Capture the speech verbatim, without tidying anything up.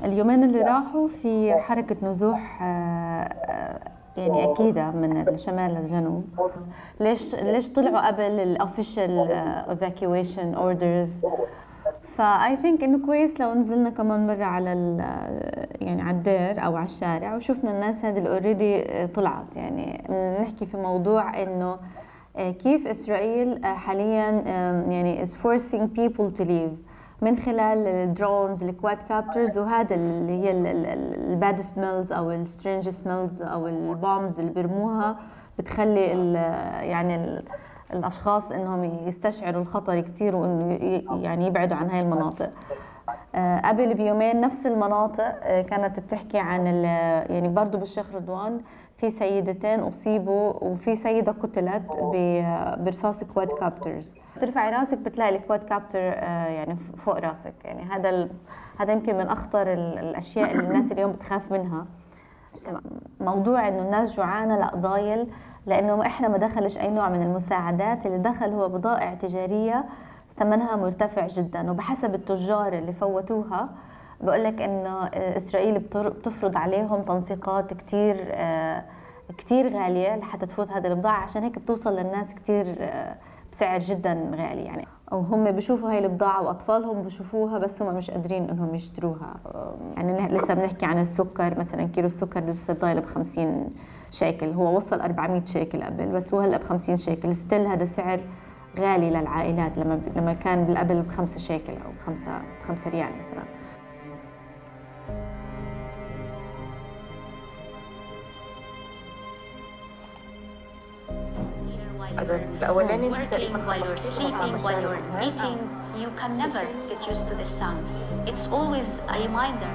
اليومين اللي راحوا في حركة نزوح يعني أكيدة من الشمال للجنوب. ليش ليش طلعوا قبل الأوفيشال evacuation orders؟ فاي ثينك انه كويس لو نزلنا كمان مره على يعني على الدير او على الشارع وشفنا الناس هذه اللي اوريدي طلعت. يعني نحكي في موضوع انه كيف اسرائيل حاليا يعني is forcing people to leave من خلال الدرونز الكواد كابترز، وهذا اللي هي الباد سميلز او السترينج سميلز او البومز اللي بيرموها بتخلي يعني الاشخاص انهم يستشعروا الخطر كتير وانه يعني يبعدوا عن هاي المناطق. قبل بيومين نفس المناطق كانت بتحكي عن يعني برضو بالشيخ رضوان في سيدتين اصيبوا وفي سيده قتلت برصاص كواد كابترز. ترفعي راسك بتلاقي الكواد كابتر يعني فوق راسك. يعني هذا هذا يمكن من اخطر الاشياء اللي الناس اليوم بتخاف منها. موضوع انه الناس جوعانه لا ضايل، لانه احنا ما دخلش اي نوع من المساعدات، اللي دخل هو بضائع تجاريه ثمنها مرتفع جدا. وبحسب التجار اللي فوتوها بقول لك انه اسرائيل بتفرض عليهم تنسيقات كتير كتير غاليه لحتى تفوت هذه البضاعه، عشان هيك بتوصل للناس كتير بسعر جدا غالي. يعني او هم بيشوفوا هاي البضاعه واطفالهم بيشوفوها بس هم مش قادرين انهم يشتروها. يعني لسه بنحكي عن السكر مثلا، كيلو السكر لسه ضايل ب خمسين شيكل، هو وصل أربعمية شيكل قبل بس هو هلا ب خمسين شيكل. ستيل هذا سعر غالي للعائلات لما لما كان قبل بخمسة شيكل او بخمسة بخمسة ريال مثلا. Working while you're sleeping, while you're eating, you can never get used to this sound. It's always a reminder.